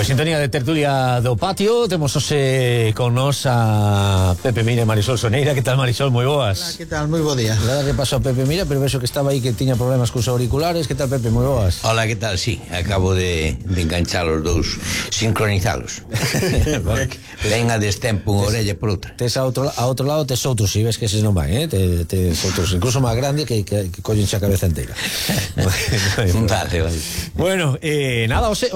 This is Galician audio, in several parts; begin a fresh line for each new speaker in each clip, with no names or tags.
Pois sintonía de tertulia do patio. Temos hoxe con nos a Pepe Mira e Marisol Soneira. Que tal, Marisol? Moi boas.
Hola, que tal? Moi bo día.
Nada que pasou, Pepe Mira, pero vexo que estaba aí que tiña problemas cos auriculares. Que tal, Pepe? Moi boas.
Hola, que tal? Sí, acabo de enganchar os dous, sincronizalos. Len a destempo unha orella por outra.
Tes a outro lado, tes outros, si ves que eses non van, tes outros, incluso máis grande que collense a cabeza inteira.
Vale.
Bueno, nada, ose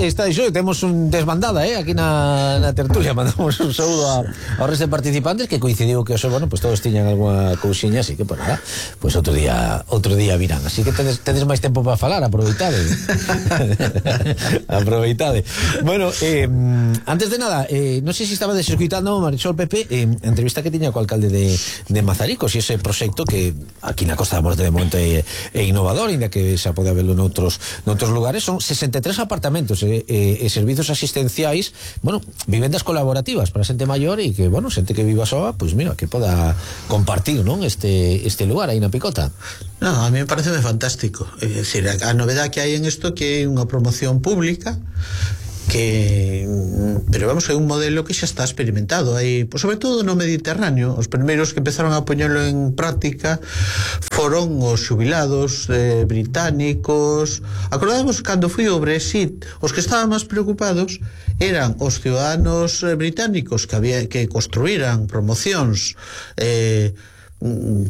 está dixo, temos un desbandada, aquí na tertulia. Mandamos un saúdo ao resto de participantes, que coincidiu que bueno, pues todos tiñan algunha cousiña, así que, pues nada, pues outro día virán, así que tedes máis tempo para falar, aproveitade. Aproveitade. Bueno, antes de nada, non sei se estaba desescuitando, Marisol, Pepe, entrevista que tiña co alcalde de Mazaricos, e ese proxecto que aquí na Costa da Morte de Monte é innovador, ainda que xa pode haberlo noutros lugares. Son 63 apartamentos e servizos asistenciais, bueno, vivendas colaborativas para xente maior e que, bueno, xente que viva soa, pois mira, que poda compartir, non, este lugar aí na Picota.
No, a mí me parece fantástico. É dicir, a novedade que hai en isto que é unha promoción pública pero vamos, é un modelo que xa está experimentado aí, pues, sobre todo no Mediterráneo. Os primeiros que empezaron a poñelo en práctica foron os xubilados británicos. Acordamos cando foi o Brexit, os que estaban máis preocupados eran os ciudadanos británicos que construíran promocións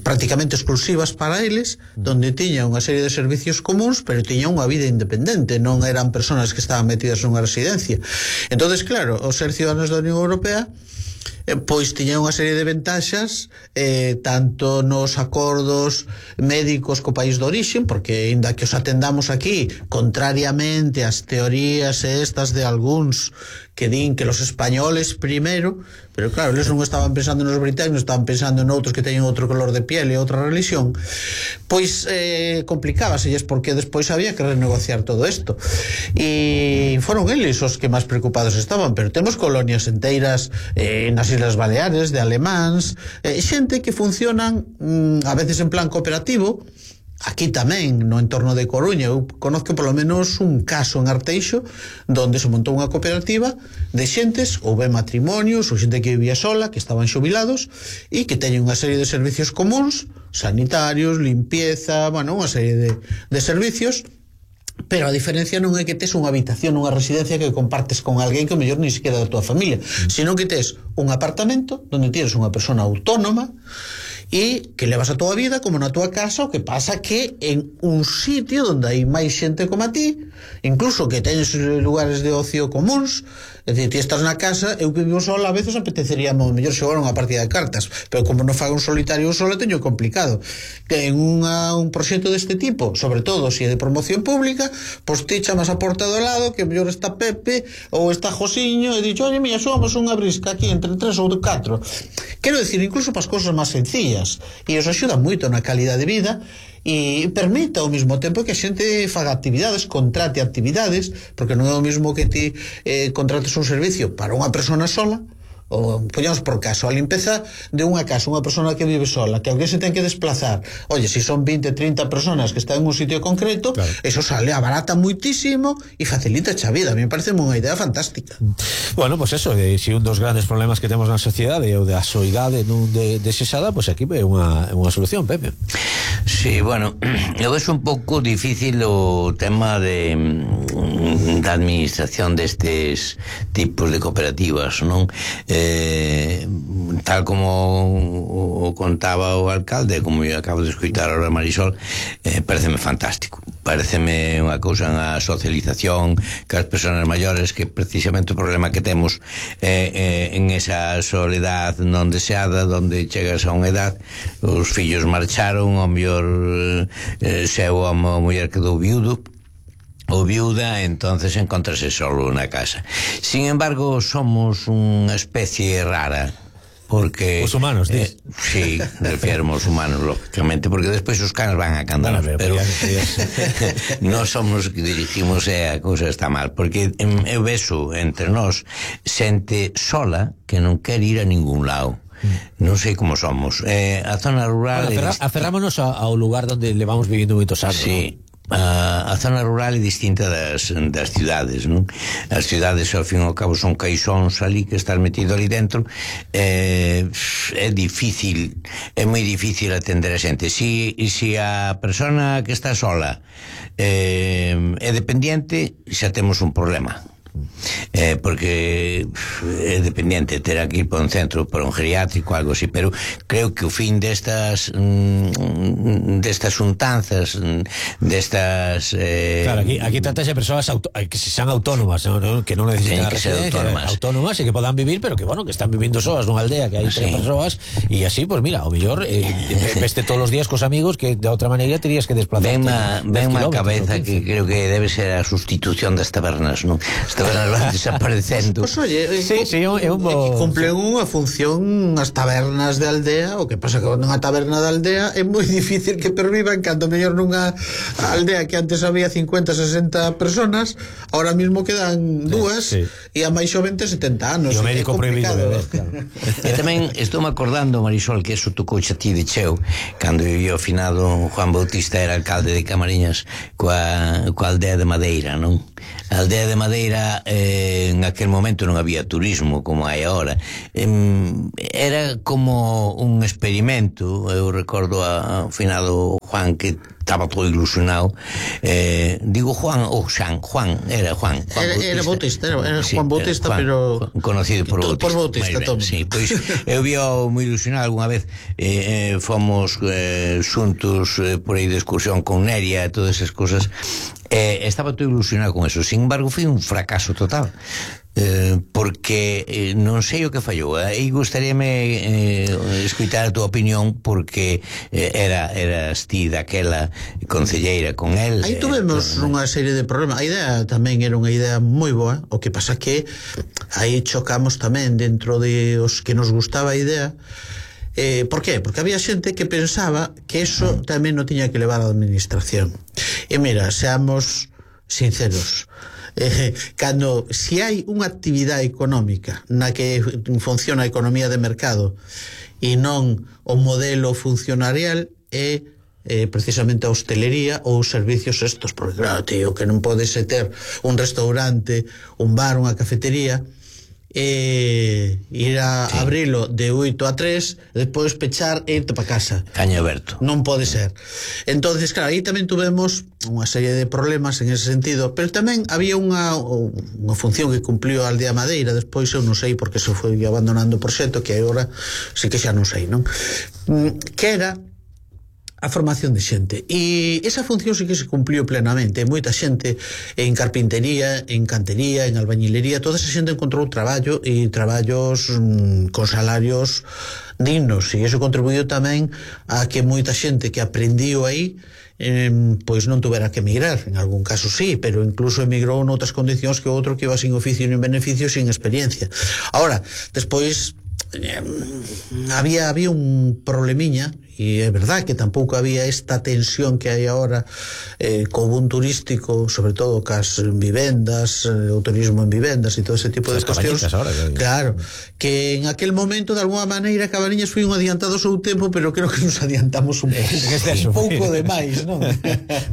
prácticamente exclusivas para eles, donde tiña unha serie de servicios comuns, pero tiña unha vida independente, non eran persoas que estaban metidas nunha residencia. Entonces, claro, os ser ciudadanos da Unión Europea pois tiña unha serie de ventaxas, tanto nos acordos médicos co país de orixen, porque ainda que os atendamos aquí, contrariamente ás teorías estas de algúns que din que los españoles primero, pero claro, eles non estaban pensando nos británicos, estaban pensando en outros que teñen outro color de piel e outra religión, pois complicábaselles, porque despois había que renegociar todo isto, e foron eles os que máis preocupados estaban. Pero temos colonias enteiras nas Islas Baleares de alemáns, xente que funcionan a veces en plan cooperativo. Aquí tamén, no entorno de Coruña, eu conozco polo menos un caso en Arteixo donde se montou unha cooperativa de xentes, ou ben matrimonios, ou xente que vivía sola, que estaban xubilados e que teñen unha serie de servicios comuns, sanitarios, limpieza, bueno, unha serie de servicios. Pero a diferencia non é que tes unha habitación, unha residencia que compartes con alguén que o mellor ni siquiera da tua familia, sino que tes un apartamento donde tienes unha persona autónoma e que levas a tua vida como na tua casa. O que pasa que en un sitio onde hai máis xente como a ti, incluso que tenes lugares de ocio comuns. É dicir, ti estás na casa, eu que vivo sola, a veces apetecería mo mellor xogar unha partida de cartas, pero como non fago un solitario solo, teño complicado. Que en un proxecto deste tipo, sobre todo se é de promoción pública, pois ti chamas a porta do lado, que mellor está Pepe ou está Josiño, e dixo, oye, mira, somos unha brisca aquí entre 3 ou 4. Quero dicir, incluso para as cousas máis sencillas, e os axuda moito na calidad de vida, e permite ao mesmo tempo que a xente faga actividades, contrate actividades, porque non é o mesmo que ti contrates un servicio para unha persona sola, ou poñamos por caso, a limpeza de unha casa, unha persona que vive sola, que alguén se ten que desplazar. Oye, se son 20, 30 personas que están en un sitio concreto, claro, eso sale, abarata muitísimo e facilita a vida. A mí me parece unha idea fantástica.
Bueno, pues eso, si un dos grandes problemas que temos na sociedade é o da soidade non desexada, pues aquí é unha solución, Pepe.
Sí, bueno, eu é un pouco difícil o tema da administración destes tipos de cooperativas, non? Tal como o contaba o alcalde, como eu acabo de escutar ahora Marisol, pareceme fantástico. Pareceme unha cousa na socialización que as persoas maiores, que precisamente o problema que temos en esa soledad non deseada, onde chegas a unha edad, os fillos marcharon, o mellor seu a muller quedou viudo ou viuda, entonces encontrase solo na casa. Sin embargo, somos unha especie rara, porque
os humanos,
sí, refirmo aos humanos, lógicamente, porque despois os canos van a cantar, pero non somos que dirigimos, a cousa está mal, porque eu vexo entre nós xente sola que non quer ir a ningún lado. Non sei como somos. A zona rural...
Aferrámonos ao lugar onde levamos vivindo moitos anos.
Sí. a zona rural é distinta das cidades, non? As cidades ao fin e ao cabo son caixóns ali que estás metido ali dentro. É difícil, é moi difícil atender a xente. Si a persona que está sola é dependiente, xa temos un problema. Porque é dependiente, terá que ir para un centro, para un geriátrico, algo así, pero creo que o fin destas xuntanzas, destas
claro, aquí tratas de persoas que sean autónomas, ¿no? Que non necesitan
que ser
autónomas e que podan vivir, pero que, bueno, que están vivindo soas nunha aldea que hai tres persoas, e así, pues mira, o mellor veste todos os días cos amigos que de outra maneira terías que desplazarte.
Ven má cabeza que creo que debe ser a sustitución das tabernas, non? As tabernas van desaparecendo.
Pues oye, cumplen unha función as tabernas de aldea. O que pasa que nunha taberna de aldea é moi difícil que pervivan, cando mellor nunha aldea que antes había 50, 60 personas, ahora mismo quedan dúas, e a máis xovente 70 anos.
E o médico prohibido beber, claro.
E tamén estou me acordando, Marisol, que eso tocou xa ti de cheo, cando vivía o finado Juan Bautista, era alcalde de Camariñas, coa aldea de Madeira, non? A aldea de Madeira, en aquel momento non había turismo como hai agora. Era como un experimento. Eu recordo ao finado Juan, que estaba todo ilusionado. Digo Juan ou Juan, era
Bautista, era Juan Bautista, pero
conocido por Bautista.
Por Bautista,
sí, pois eu vi moi ilusionado algunha vez. Fomos xuntos por aí de excursión con Neria e todas esas cosas. Estaba todo ilusionado con eso. Sin embargo, foi un fracaso total. Porque non sei o que fallou. E gustaríame escutar a tua opinión, porque eras ti daquela concelleira con el.
Aí tuvemos unha serie de problemas. A idea tamén era unha idea moi boa. O que pasa que aí chocamos tamén dentro de os que nos gustaba a idea. Por qué? Porque había xente que pensaba que eso tamén non tiña que levar a administración. E mira, seamos sinceros, si hai unha actividade económica na que funciona a economía de mercado e non o modelo funcionarial, é precisamente a hostelería ou os servicios estos, porque claro, tío, que non pode ser ter un restaurante, un bar, unha cafetería, ir a abrilo de 8 a 3, despois pechar e irte para casa.
Caño aberto.
Non pode ser. Entonces, claro, aí tamén tuvemos unha serie de problemas en ese sentido, pero tamén había unha función que cumpliu a Aldea Madeira. Despois eu non sei porque se foi abandonando o proxecto, que agora sí que xa non sei, non? Que era a formación de xente, e esa función sí que se cumpliu plenamente. Moita xente en carpintería, en cantería, en albañilería, toda esa xente encontrou traballo, e traballos con salarios dignos, e iso contribuiu tamén a que moita xente que aprendiu aí pois non tuvera que emigrar. En algún caso sí, pero incluso emigrou noutras condicións que outro que iba sin oficio nin beneficio, sin experiencia. Ahora, despois había un problemiña, e é verdad que tampouco había esta tensión que hai agora co boom turístico, sobre todo cas vivendas, o turismo en vivendas e todo ese tipo de cuestións. Claro, que en aquel momento de alguma maneira Cabanillas foi un adiantado ao seu tempo, pero creo que nos adiantamos un pouco de máis, non?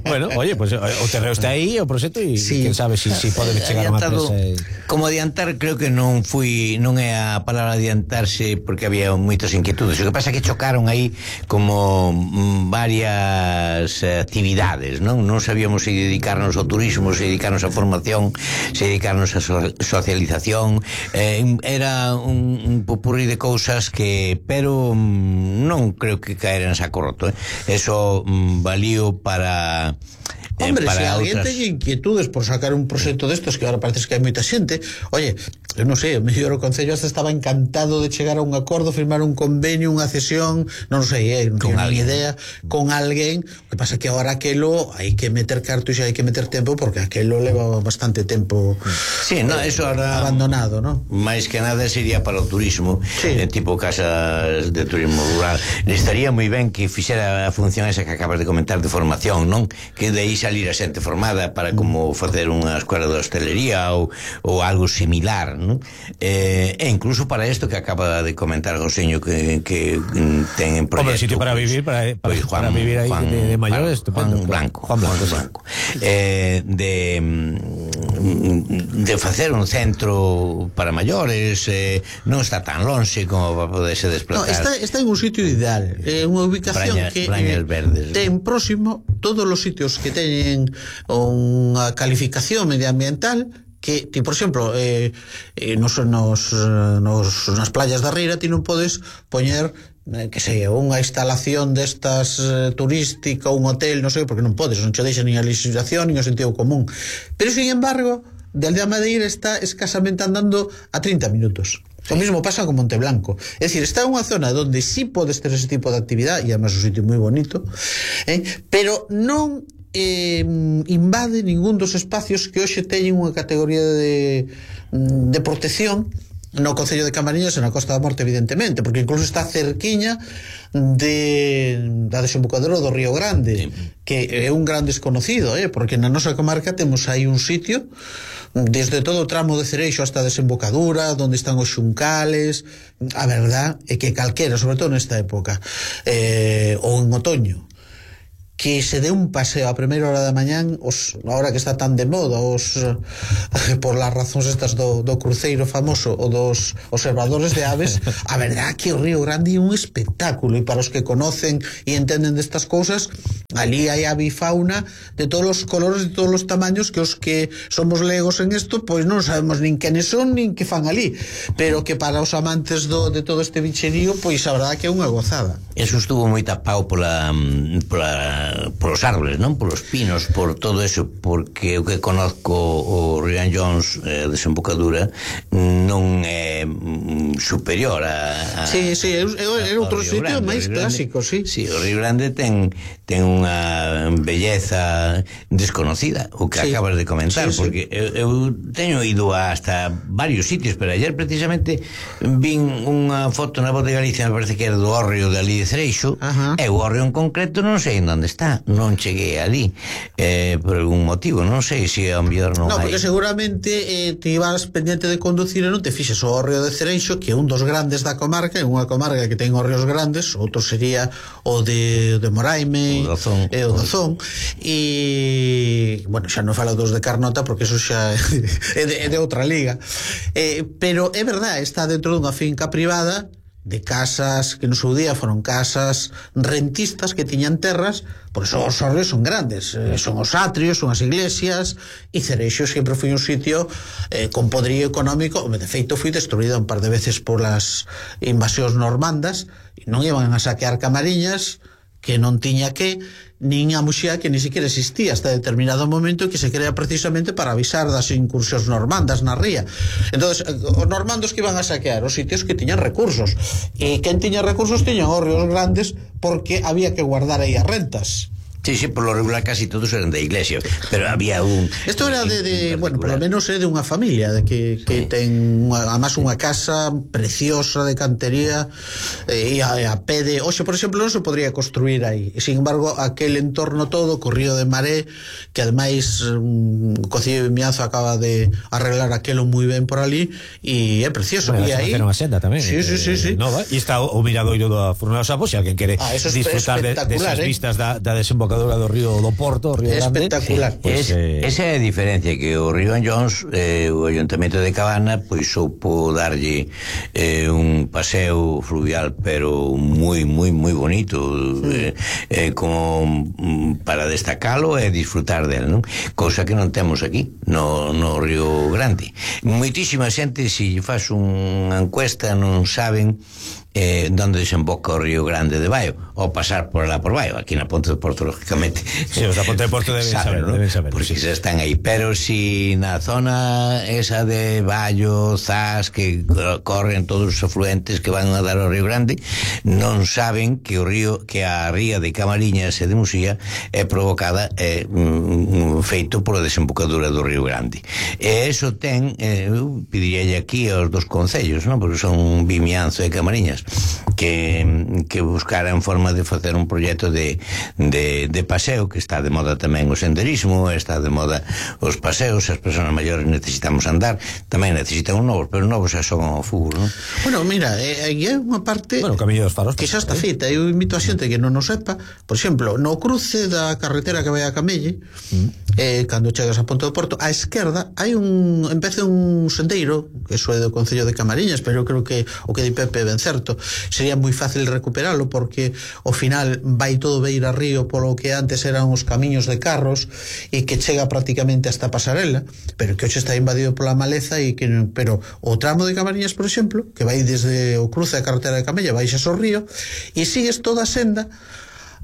Bueno, oye, pues o terreo está aí, o proxecto, e quen sabe si pode chegar a unha empresa.
Como adiantar, creo que non é a palabra adiantarse, porque había moitas inquietudes. O que pasa é que chocaron aí como varias actividades, non sabíamos se dedicarnos ao turismo, se dedicarnos á formación, se dedicarnos á socialización. Era un popurrí de cousas que, pero non creo que caera en saco roto. Eso valío para
Hombre, se alguén ten inquietudes por sacar un proxecto destos, que agora parece que hai moita xente, oye, eu non sei, o mellor o Concello hasta estaba encantado de chegar a un acordo, firmar un convenio, unha cesión, non sei, non teño ni idea, con alguén. O que pasa que agora aquelo hai que meter cartos e hai que meter tempo, porque aquelo leva bastante tempo
eso ahora
abandonado, non?
Máis que nada sería para o turismo, tipo casas de turismo rural. Estaría moi ben que fixera a función esa que acabas de comentar de formación, non? Que de aí salir a xente formada para como facer unha escola de hostelería ou algo similar, non? E incluso para isto que acaba de comentar José que ten en proyecto.
Hombre, sitio para vivir, para vivir ahí de mayores,
Juan Blanco. De facer un centro para maiores, non está tan lonxe como para poderse desplazar.
No, está en un sitio ideal, unha ubicación que ten próximo todos os sitios que teñen unha calificación medioambiental, que ti, por exemplo, nas playas da Riera ti non podes poñer que sei, unha instalación destas turística, un hotel, non sei, porque non podes, non che deixa nin a legislación nin o sentido común. Pero, sin embargo, de Aldea Madeira está escasamente andando a 30 minutos. O mismo pasa con Monteblanco. É dicir, está en unha zona onde sí podes ter ese tipo de actividade, e además un sitio moi bonito, pero non invade ningún dos espacios que hoxe teñen unha categoría de protección no Concello de Camariñas e na Costa da Morte, evidentemente, porque incluso está cerquiña da desembocadura do Río Grande, que é un gran desconocido, porque na nosa comarca temos aí un sitio desde todo o tramo de Cereixo hasta a desembocadura, onde están os xuncales. A verdad é que calquera, sobre todo nesta época, ou en otoño, que se dé un paseo a primeira hora da mañán, a hora que está tan de moda, por las razóns estas do cruceiro famoso ou dos observadores de aves, a verdad que o Río Grande é un espectáculo, e para os que conocen e entenden destas cousas, ali hai avifauna de todos os colores, de todos os tamaños, que os que somos legos en isto, pois non sabemos nin quenes son, nin que fan ali, pero que para os amantes de todo este bicherío, pois a verdad que é unha gozada.
Eso estuvo moi tapado polos árboles, non? Polos pinos, por todo eso, porque o que conozco o Río Jones, desembocadura, non é superior a
Sí, é outro sitio máis clásico, sí.
Sí, o Río Grande ten unha belleza desconocida, o que acabas de comentar, porque eu teño ido hasta varios sitios, pero ayer precisamente vin unha foto na Voz de Galicia, me parece que era do hórreo de ali de Cereixo, e o hórreo en concreto non sei en onde está, non cheguei ali por algún motivo, non sei se ao mellor non hai.
Porque seguramente te ibas pendiente de conducir e non te fixes o hórreo de Cereixo, que é un dos grandes da comarca, é unha comarca que ten hórreos grandes, outro sería o de Moraime, o Dozón, e bueno, xa non falo dos de Carnota porque eso xa é de outra liga, pero é verdade, está dentro dunha finca privada de casas que no seu día foron casas rentistas que tiñan terras, por eso os hórreos son grandes, son os atrios, son as iglesias, e Cereixo sempre foi un sitio con poderío económico. De feito foi destruído un par de veces polas invasións normandas, e non iban a saquear Camariñas, que non tiña nin a Muxía, que ni siquiera existía hasta determinado momento, que se crea precisamente para avisar das incursións normandas na ría. Entonces, os normandos que iban a saquear os sitios que tiñan recursos, e quen tiña recursos tiñan hórreos grandes, porque había que guardar aí as rentas.
Sí, por lo regular casi todos eran de iglesia, pero había un...
Esto era bueno, por lo menos é de unha familia de que ten además unha casa preciosa de cantería, e a pé de... Oxe, por exemplo, non se podría construir aí, e, sin embargo, aquel entorno todo, Corrío de Maré, que ademais o Concello de Vimianzo acaba de arreglar aquelo moi ben por ali, e é precioso.
Bueno,
e aí
unha senda tamén.
Sí.
Nova, e está o miradoiro da Furna dos Sapos, se alguén quere disfrutar desas vistas da desembocadura do río do Porto, o Río Grande.
Espectacular.
Esa é a diferencia, que o Río Jones, o Ayuntamento de Cabana, pois soupo darlle un paseo fluvial, pero moi bonito, como para destacalo e disfrutar del, non? Cousa que non temos aquí no Río Grande. Moitísima xente, se faz unha encuesta, non saben donde desemboca o Río Grande de Baio, ou pasar por lá por Baio. Aquí na Ponte de Porto, lógicamente,
sí, os da Ponte de Porto deben saber,
porque xa están aí, pero si na zona esa de Baio, Zas, que corren todos os afluentes que van a dar ao Río Grande, non saben que a ría de Camariñas e de Muxía é provocada, feito pola desembocadura do Río Grande. E eso ten, eu pediríalle aquí aos dos concellos, non? Porque son Vimianzo e Camariñas, Camariñas, que buscaran forma de facer un proxecto de paseo, que está de moda tamén o senderismo, está de moda os paseos, as persoas maiores necesitamos andar, tamén necesitan un novos, pero novos xa son ao fútbol, non?
Bueno, mira, aí é unha parte
Camiño dos Faros
que xa está feita. Eu invito a xente que non o sepa, por exemplo, no cruce da carretera que vai a Camelle, cando chegas a Ponte do Porto, á esquerda hai empeza un sendeiro, que iso é do Concello de Camariñas, pero eu creo que o que di Pepe ben certo, sería moi fácil recuperalo, porque ao final vai todo beira río polo que antes eran os camiños de carros, e que chega prácticamente hasta a pasarela, pero que hoxe está invadido pola maleza, pero o tramo de Camariñas, por exemplo, que vai desde o cruce da carretera de Camella, baixas ao río e sigues toda a senda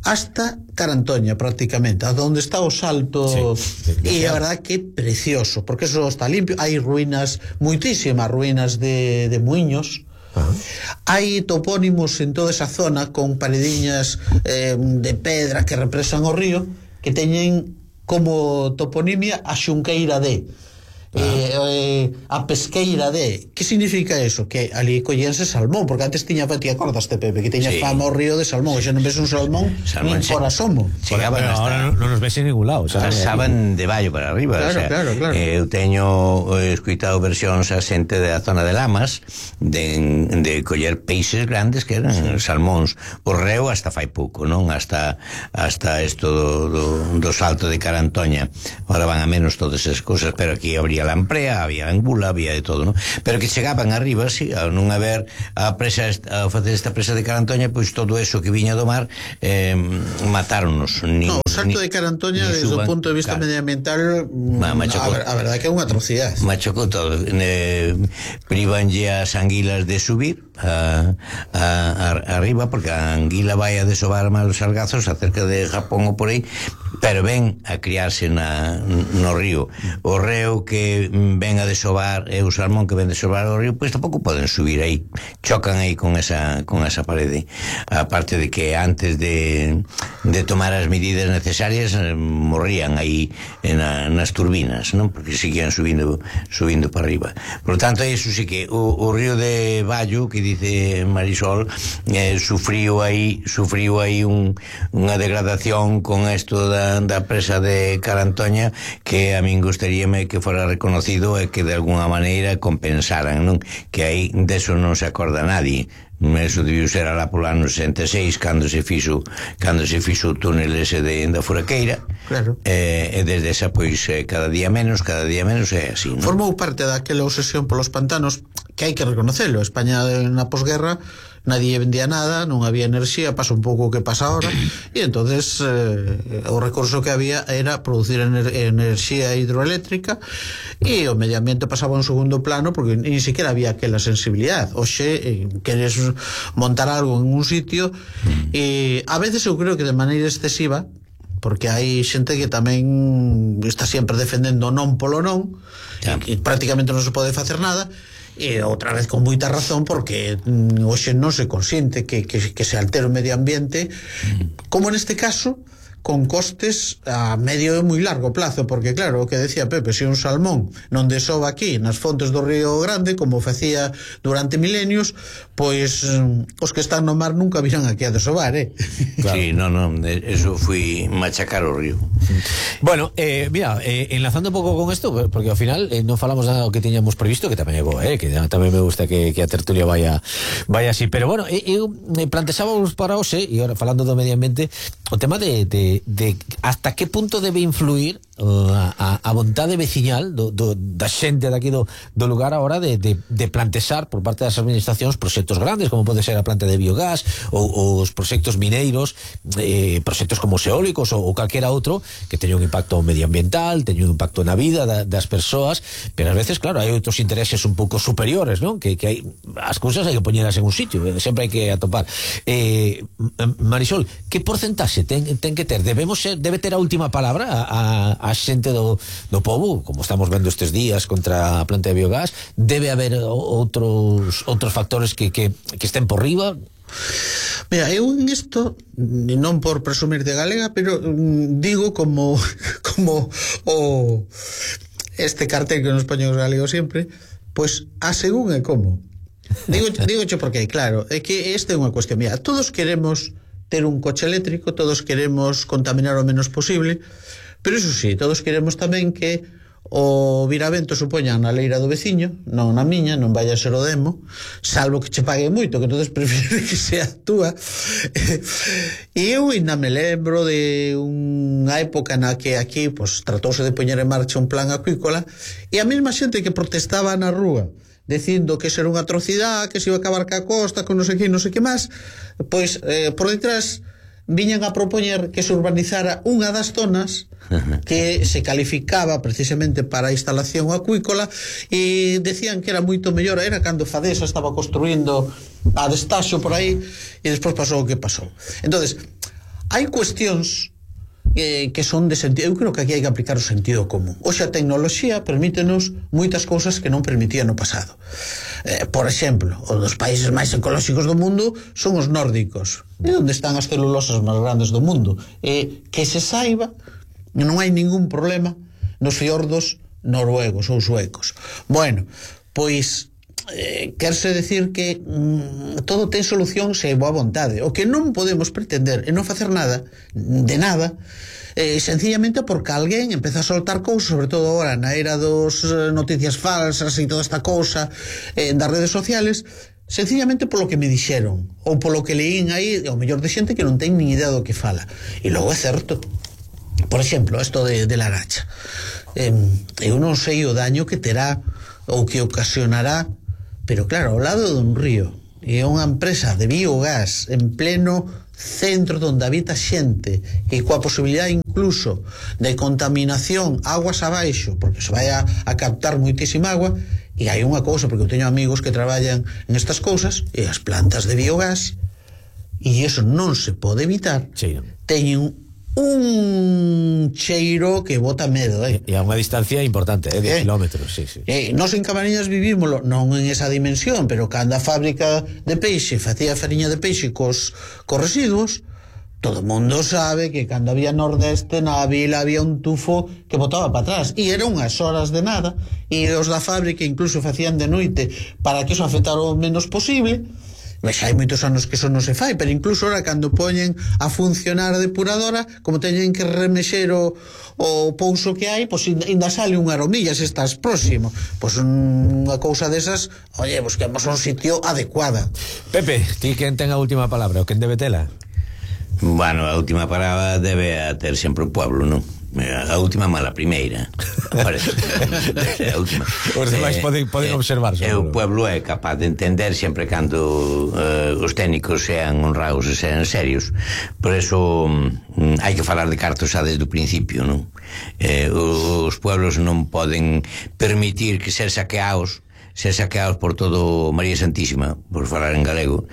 hasta Carantoña, prácticamente, a donde está o salto, e a verdad que é precioso, porque eso está limpio. Hai ruínas, moitísimas ruínas de muiños. Hai topónimos en toda esa zona con parediñas de pedra que represan o río, que teñen como toponimia a Xunqueira de a pesqueira de. Que significa eso? Que ali collense salmón, porque antes tiña, ti acordaste, Pepe, que tiña fama o río de salmón, e xa non ves un salmón nin por asomo.
Chegaban
hasta... Ahora non nos ves en ningún lado,
pasaban de Vallo para arriba.
Claro,
o sea,
claro.
Eu teño escuitado versións a xente da zona de Lamas de coller peixes grandes que eran salmóns. O reo hasta fai pouco, non? Hasta isto do salto de Carantoña. Ahora van a menos todas esas cousas, pero aquí habría lamprea, había angula, había de todo, ¿no? Pero que chegaban arriba, sí, a non haber a facer esta presa de Carantoña, pois todo eso que viña do mar matáronos.
No, o salto de Carantoña desde o punto de vista medioambiental, a verdade que é unha atrocidade.
Machocou todo. Privanlle as anguilas de subir arriba, porque a anguila vai a desovar malos sargazos acerca de Japón ou por aí, pero ven a criarse no río. O reo que ven a desovar e o salmón que ven a desovar o río, pois tampouco poden subir aí, chocan aí con esa parede. Aparte de que antes de tomar as medidas necesarias morrían aí nas turbinas, non? Porque seguían subindo para arriba. Por lo tanto, eso sí que o río de Vallo, que dice Marisol, sufriu aí unha degradación con esto da presa de Carantoña, que a min gustaríame que fora reconocido e que de alguna maneira compensaran, non? Que aí deso non se acorda nadie. Eso debiu ser alá polo ano 66 cando se fixo o túnel ese da Furaqueira.
Claro.
E desde esa pois cada día menos é así, non?
Formou parte daquela obsesión polos pantanos, que hai que reconocerlo. España na posguerra nadie vendía nada, non había enerxía, pasa un pouco o que pasa ahora, e entonces o recurso que había era producir enerxía hidroeléctrica, e o medio ambiente pasaba a un segundo plano, porque ni siquiera había aquela sensibilidade. Oxe, queres montar algo en un sitio, e a veces eu creo que de maneira excesiva, porque hai xente que tamén está sempre defendendo non polo non, e prácticamente non se pode facer nada. E outra vez con moita razón, porque hoxe non se consiente que se altere o medio ambiente, como neste caso, con costes a medio e moi largo plazo, porque claro, o que decía Pepe, se un salmón non desova aquí nas fontes do Río Grande, como facía durante milenios, pois os que están no mar nunca virán aquí a desovar,
Claro. Sí, non, eso fui machacar o río.
Bueno, mira, enlazando un pouco con isto, porque ao final non falamos nada do que teñamos previsto, que tamén é bo, que tamén me gusta que a tertulia vaya así, pero bueno, eu plantexábamos para hoxe, e agora falando do medio ambiente, o tema de hasta que punto debe influir a vontade veciñal da xente daqui do lugar a hora de plantexar por parte das administracións proxectos grandes, como pode ser a planta de biogás ou os proxectos mineiros, proxectos como os eólicos ou calquera outro que teña un impacto medioambiental, teña un impacto na vida das persoas, pero ás veces, claro, hai outros intereses un pouco superiores, non? Que hai, as cousas hai que poñelas en un sitio, sempre hai que atopar. Marisol, que porcentaxe ten que ter? Debe ter a última palabra a xente do pobo, como estamos vendo estes días contra a planta de biogás? Debe haber outros factores que estén por riba?
Mira, eu en isto, non por presumir de galega, pero digo como este cartel que nos poñen os galegos sempre, pois a según e como. Digoche porque, claro, é que esta é unha cuestión. Mira, todos queremos ter un coche eléctrico, todos queremos contaminar o menos posible, pero iso sí, todos queremos tamén que o viravento supoña na leira do veciño, non na miña, non vai a ser o demo, salvo que che pague moito, que entonces prefiro que sea túa. E eu ainda me lembro de unha época na que aquí pues, tratouse de poñer en marcha un plan acuícola, e a mesma xente que protestaba na rúa dicindo que ser unha atrocidade, que se iba a acabar ca costa, con non sei que máis, pois por detrás viñan a propoñer que se urbanizara unha das zonas que se calificaba precisamente para a instalación acuícola, e decían que era moito mellor. Era cando Fadesa estaba construindo a destaxo por aí, e despois pasou o que pasou. Entonces, hai cuestións que son de sentido. Eu creo que aquí hai que aplicar o sentido común. Hoxe a tecnoloxía permítenos moitas cousas que non permitía no pasado. Por exemplo, os dos países máis ecolóxicos do mundo son os nórdicos, onde están as celulosas máis grandes do mundo, que se saiba non hai ningún problema nos fiordos noruegos ou suecos. Bueno, pois querse decir que todo ten solución se hai boa vontade. O que non podemos pretender é non facer nada de nada, sencillamente porque alguén empeza a soltar cousas, sobre todo agora na era dos noticias falsas e toda esta cousa das redes sociales, sencillamente polo que me dixeron ou polo que leín aí, ao mellor de xente que non ten nin idea do que fala. E logo é certo, por exemplo, isto de Laracha, eu non sei o daño que terá ou que ocasionará, pero claro, ao lado dun río, e é unha empresa de biogás en pleno centro onde habita xente, e coa posibilidade incluso de contaminación aguas abaixo, porque se vai a captar moitísima agua. E hai unha cousa, porque eu teño amigos que traballan en estas cousas, e as plantas de biogás, e iso non se pode evitar, teñen un cheiro que bota medo,
E a unha distancia importante, 10 kilómetros, sí.
Nos en Camariñas vivímoslo, non en esa dimensión, pero cando a fábrica de peixe facía fariña de peixe cos residuos, todo o mundo sabe que cando había nordeste na vila había un tufo que botaba para atrás, e era unhas horas de nada, e os da fábrica incluso facían de noite para que eso afectara o menos posible. Mas hai moitos anos que eso non se fai, pero incluso ahora cando poñen a funcionar a depuradora, como teñen que remexer o pouso que hai, pois ainda sale unha aromilla se estás próximo. Pois unha cousa desas, oye, busquemos un sitio adecuada.
Pepe, ti quen ten a última palabra, o quen debe tela?
Bueno, a última palabra debe a ter sempre o pueblo, non? A última mala primeira. Parece a última.
Os demais poden observar.
O pueblo é capaz de entender sempre cando os técnicos sean honrados e sean serios. Por eso hai que falar de cartos xa desde o principio, non? Os pueblos non poden permitir que ser saqueados por todo María Santísima, por falar en galego,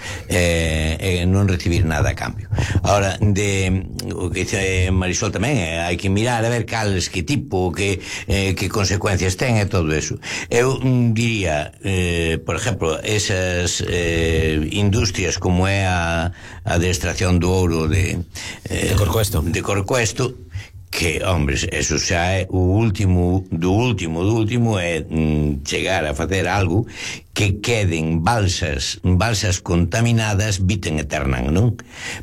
non recibir nada a cambio. Ahora, o que dice Marisol tamén, hai que mirar a ver cales, que tipo, que consecuencias ten e todo eso. Eu diría, por exemplo, esas industrias como é a de extracción do ouro de Corcoesto, que, hombres, eso xa é o último do último é chegar a facer algo que queden balsas contaminadas vitem aeternam, non?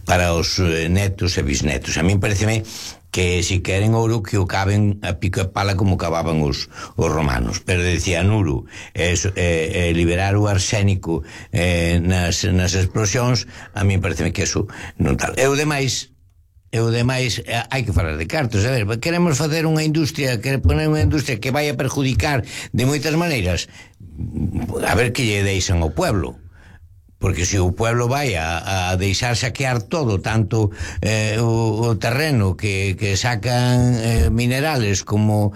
Para os netos e bisnetos. A min pareceme que si queren ouro que o caben a pico e pala como cavaban os romanos, pero decían ouro liberar o arsénico nas explosións, a min pareceme que eso non tal. E o demais hai que falar de cartos. A ver, queremos facer unha industria, poner unha industria que vai a perjudicar de moitas maneiras, a ver que lle deixan ao pueblo, porque se o pueblo vai a deixar saquear todo, tanto o terreno que sacan minerales, como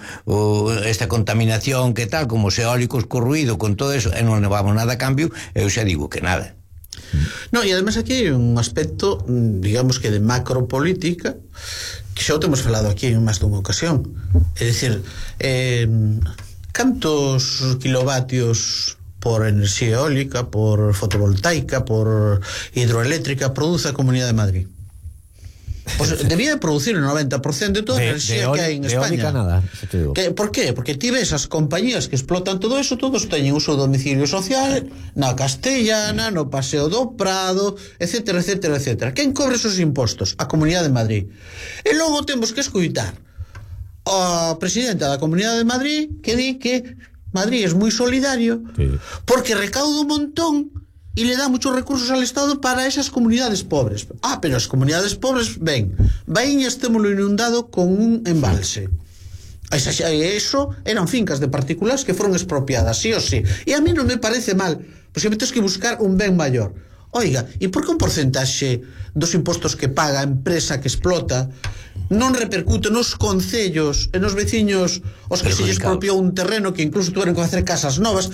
esta contaminación que tal, como os eólicos co ruido, con todo eso, e non levamos nada a cambio, eu xa digo que nada.
No, e además aquí hai un aspecto, digamos que de macropolítica, que xa o temos falado aquí en máis dunha ocasión. É dicir, cantos kilovatios por enerxía eólica, por fotovoltaica, por hidroeléctrica produce a Comunidade de Madrid? Pues debía de producir el 90% de toda a enerxía que hai en España.
Nada,
¿Por qué? Porque ti ves as compañías que explotan todo eso, todos teñen uso de domicilio social na Castellana, no Paseo do Prado, etcétera, etcétera, etcétera. Quen cobre esos impostos? A Comunidade de Madrid. E logo temos que escoitar a presidenta da Comunidade de Madrid que di que Madrid es moi solidario porque recauda un montón y le da muchos recursos al Estado para esas comunidades pobres. Pero as comunidades pobres, Baíñas témolo inundado con un embalse. Eso eran fincas de particulares que foron expropiadas, sí o sí. E a mí non me parece mal, porque tens que buscar un ben maior. Oiga, e por que un porcentaxe dos impostos que paga a empresa que explota non repercute nos concellos e nos veciños os que se lles expropiou un terreno que incluso tuveron que facer casas novas?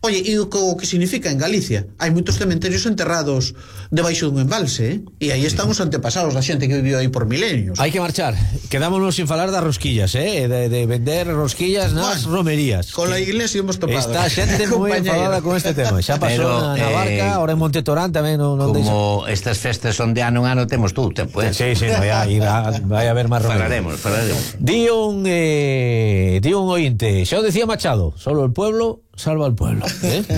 Oye, e o que significa en Galicia? Hai moitos cementerios enterrados debaixo dun embalse, e aí están os antepasados da xente que viviu aí por milenios.
Hai que marchar. Quedámonos sin falar das rosquillas, de vender rosquillas nas romerías.
Con la iglesia hemos topado.
Está xente moi enfadada con este tema. Xa pasou na Barca, ahora en Monte Torán tamén non
como estas festas son de ano en ano temos tú, pues.
Sí, vai haber máis romerías.
Falaremos.
Di un ointe, xa o decía Machado, solo el pueblo salva al pueblo,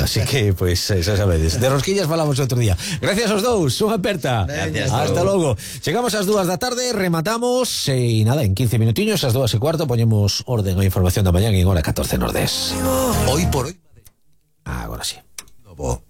así que, pues, xa sabedes. De rosquillas falamos outro día. Gracias aos dous, unha aperta.
Gracias.
Hasta logo. Chegamos ás 2 da tarde, rematamos e nada, en 15 minutiños, ás 2:15 poñemos orden a información da mañá en hora 14 Nordés.
Hoy por hoy.
Agora sí.
Novo.